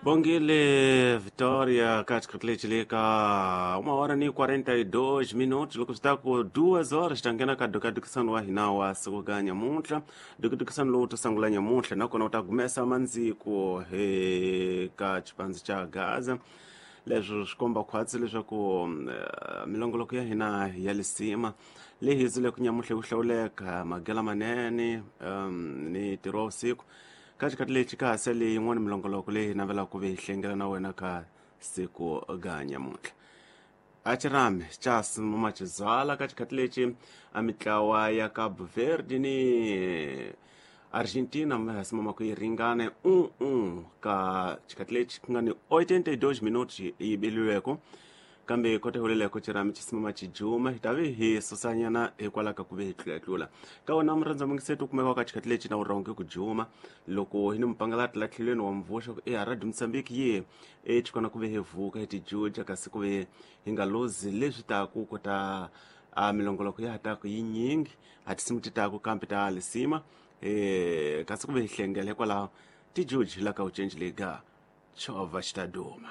Bongile Vitória katika 1h42 loko swi ta ku 2 horas ta nghena ka dukadukisano wa hina wa siku ka nyamuntlha. Dukadukisano lowu to sungula nyamuntlha nakona u ta gumesa mandziko ka xipandzi xa Gaza. Leswi swi komba khwatsi leswaku milongoloko ya hina ya lisima leyi hi zile ku nyamuntlha ku hlawuleka magela manene ni ntirho wa vusiku. Ka xikhathi lexi ka ha sele yin'wana milongoloko leyi hi navelaka ku ve hi hlengela na wena ka siku ga nyamuntlha. A xirhami xa simama xizwala ka xikhathi lexi a mitlawa ya Cabo Verde ni Argentina ma simama ku yi ringane 1-1 ka xikhathi lexi ku nga ni 82 minutos yi biliweko, kambe kota huleleko xirhami xi simama xi juma. Hi ta ve hi susanyana hikwalaho ka ku ve hi tlulatlula ka wona murhandza mungiseto u kumeka ka xikhathi lexi na u rhonge ku juma loko hi ni mupangalati la tlhelweni wa mvuxa ku e Radio Mozambique yi e chikona ku ve hi vuka hi tijuja, kasi ku ve hi nga lozi leswi taku kota a milongoloko ya ha taku yinyingi a tinsimu ti taku kambe ta lisima kasi ku ve hi hlengela hikwalaho tijuji la ka u cenji lega chovha xi ta duma.